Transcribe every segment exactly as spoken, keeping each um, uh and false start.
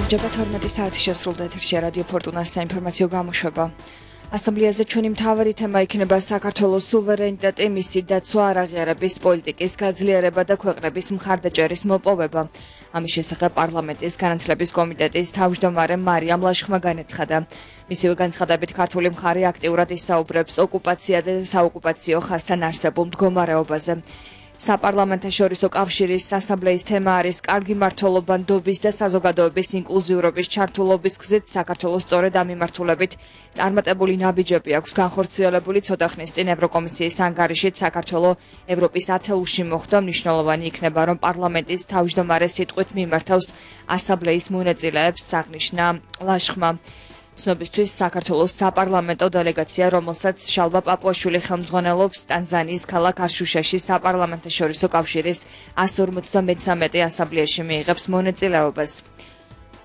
Ჯობა თორმეტი საათი შესრულდა ეთერში რადიო ფორტუნას საინფორმაციო გამოშვება. ასამბლეაზე ჩვენი მთავარი თემა იქნება საქართველოს სუვერენიტეტი, მისი დაცვა, არაღიარების პოლიტიკის გაძლიერება და ქვეყნების მხარდაჭერის მოპოვება. ამის შესახებ პარლამენტის განათლების კომიტეტის თავმჯდომარე მარიამ ლაშხმა განაცხადა. მისივე განცხადებით ქართული მხარე აქტიურად ისაუბრებს ოკუპაცია და საოკუპაციო ხაზთან არსებულ მდგომარეობაზე. საპარლამენტაშორისო კავშირის ასამბლეის თემა არის კარგი მმართველობა, ნდობის და საზოგადოების ინკლუზიურობის ჩართულობის გზით საქართველოს სწორედ ამ მიმართულებით წარმატებული ნაბიჯები აქვს განხორციელებული. ცოტა ხნის წინ ევროკომისიის ანგარიშით საქართველოს ევროპის ათეულში მოხვდა. მნიშვნელოვანი იქნება, რომ პარლამენტის თავმჯდომარე სიტყვით მიმართავს ასამბლეის მონაწილეებს, აღნიშნა ლაშხმა. ცნობისთვის საქართველოს საპარლამენტო დელეგაცია, რომელსაც შალვა პაპუაშვილი ხელმძღვანელობს, ტანზანიის ქალაქ არშუშაში საპარლამენტაშორისო კავშირის εκατს ორმოცდამეცამეტე ასამბლეაში მიიღებს მონაწილეობას.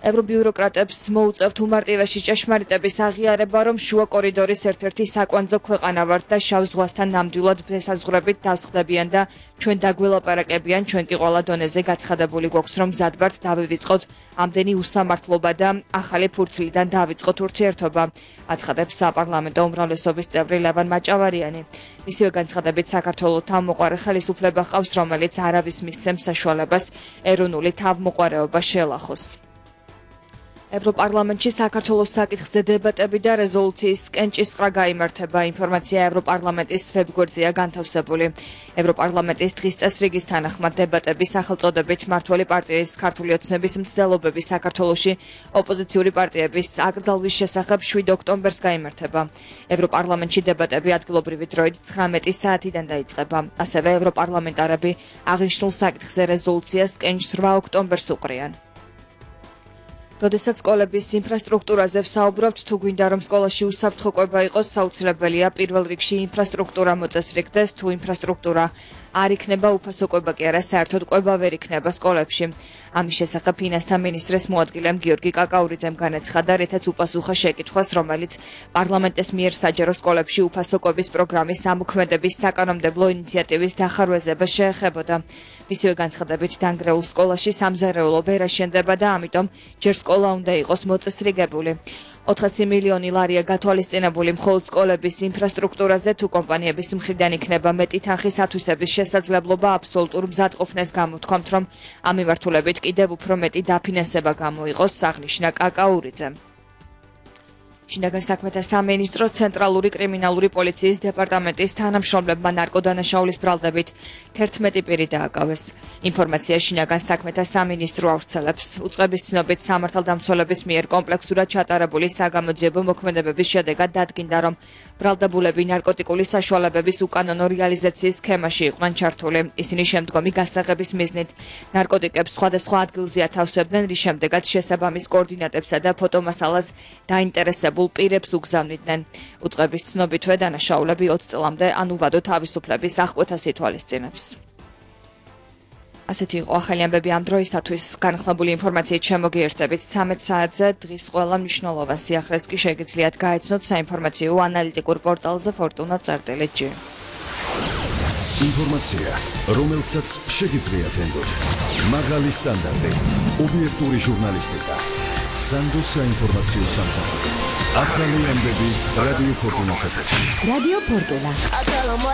ევრობიუროკრატებს მოუწევთ უმარტივესი ჭეშმარიტების აღიარება, რომ შუა კორიდორის ერთ-ერთი საკვანძო ქვეყანა ვართ და შავ ზღვასთან ნამდვილად ესაზღვრებით დავსხდებიან და ჩვენ დაგველაპარაკებიან, ჩვენ კი ყველა დონეზე გაცხადებული გვაქვს, რომ მზად ვართ დავივიწყოთ ამდენი უსამართლობა და ახალი ფურცლიდან დავიწყოთ ურთიერთობა, აცხადებს საპარლამენტო უმრავლესობის წევრი ლევან მაჭავარიანი. მისივე განცხადებით საქართველოს თავმოყარე ხელისუფლება ჰყავს, რომელიც არავის მისცემს საშუალებას ეროვნული თავმოყარეობა შეელახოს. ევროპარლამენტში საქართველოს საკითხზე დებატები და რეზოლუციის კენჭისყრა გაიმართება. ინფორმაცია ევროპარლამენტის ვებგვერდზეა განთავსებული. ევროპარლამენტის დღის წესრიგის თანახმად დებატები სახელწოდებით მმართველი პარტიის ქართული ოცნების მცდელობები საქართველოში ოპოზიციური პარტიების აკრძალვის შესახებ შვიდ ოქტომბერს გაიმართება. ევროპარლამენტში დებატები ადგილობრივი დროით ცხრამეტი საათიდან დაიწყება. ასევე ევროპარლამენტარები აღნიშნულ საკითხზე რეზოლუციას კენჭს რვა ოქტომბერს უყრიან. როდესაც სკოლების ინფრასტრუქტურაზე ვსაუბრობთ, თუ გვინდა რომ სკოლაში უსაფრთხო კვება იყოს, საუცილებელია პირველ რიგში ინფრასტრუქტურა მოწესრიგდეს, თუ ინფრასტრუქტურა არ იქნება, უფასო კვება კი არა, საერთოდ კვება ვერ იქნება სკოლებში. ამის შესახებ ფინანსთა მინისტრის მოადგილემ გიორგი კაკაურიძემ განაცხადა, რითაც უპასუხა შეკითხვას, რომელიც პარლამენტის მიერ საჯარო სკოლებში უფასო კვების პროგრამის ამოქმედების საკანონმდებლო ინიციატივის დახარვეზება შეეხებოდა. მისივე განცხადებით, დანგრეულ სკოლაში სამზარეულო ვერ აშენდება და ამიტომ ჯერ სკოლა უნდა იყოს მოწესრიგებული. ოთხასი მილიონი ლარია გათვალისწინებული მხოლოდ სკოლების ინფრასტრუქტურაზე, თუ კომპანიების მხრიდან იქნება მეტი თანხის ათვისების შესაძლებლობა, აბსოლუტურ მზადყოფნას გამოთქვამთ, რომ ამ მიმართულებით კიდევ უფრო მეტი დაფინანსება გამოიყოს, აღნიშნა კაკაურიძემ. შინაგან საქმეთა სამინისტრო ცენტრალური კრიმინალური პოლიციის დეპარტამენტის თანამშრომლებმა ნარკოდანაშაულის ბრალდებით თერთმეტი პირი დააკავეს. ინფორმაცია შინაგან საქმეთა სამინისტრო ავრცელებს. უწყების ცნობით სამართალდამცველების მიერ კომპლექსურად ჩატარებული საგამოძიებო მოქმედებების შედეგად დადგინდა, რომ ბრალდებულები ნარკოტიკული საშუალებების უკანონო რეალიზაციის სქემაში იყვნენ ჩართული. ისინი შემდგომი გასაღების მიზნით ნარკოტიკებს სხვადასხვა ადგილზე ათავსებდნენ, რის შემდეგაც შესაბამის კოორდინატებსა და ფოტომასალას დაინტერესებულ პირებს უგზავნიდნენ. უწყების ცნობითვე დანაშაულები ოცი წლამდე ან უვადო თავისუფლების აღკვეთას ითვალისწინებს. ასეთი იყო ახალი ამბები ამ დროისათვის. განხლებული ინფორმაციით შემოგიერთებით ცამეტ საათზე. დღის ყველა მნიშვნელოვან სიახლეს კი შეგიძლიათ გაეცნოთ საინფორმაციო ანალიტიკურ პორტალზე ფორტუნა წერტილი ჯი. ინფორმაცია, რომელსაც შეგიძლიათ ენდოთ. მაღალი სტანდარტი, ობიექტური ჟურნალისტიკა. სანდო საინფორმაციო სამსახური. ახალი ამბები რადიო ფორტუნას ეთერში. რადიო ფორტუნა.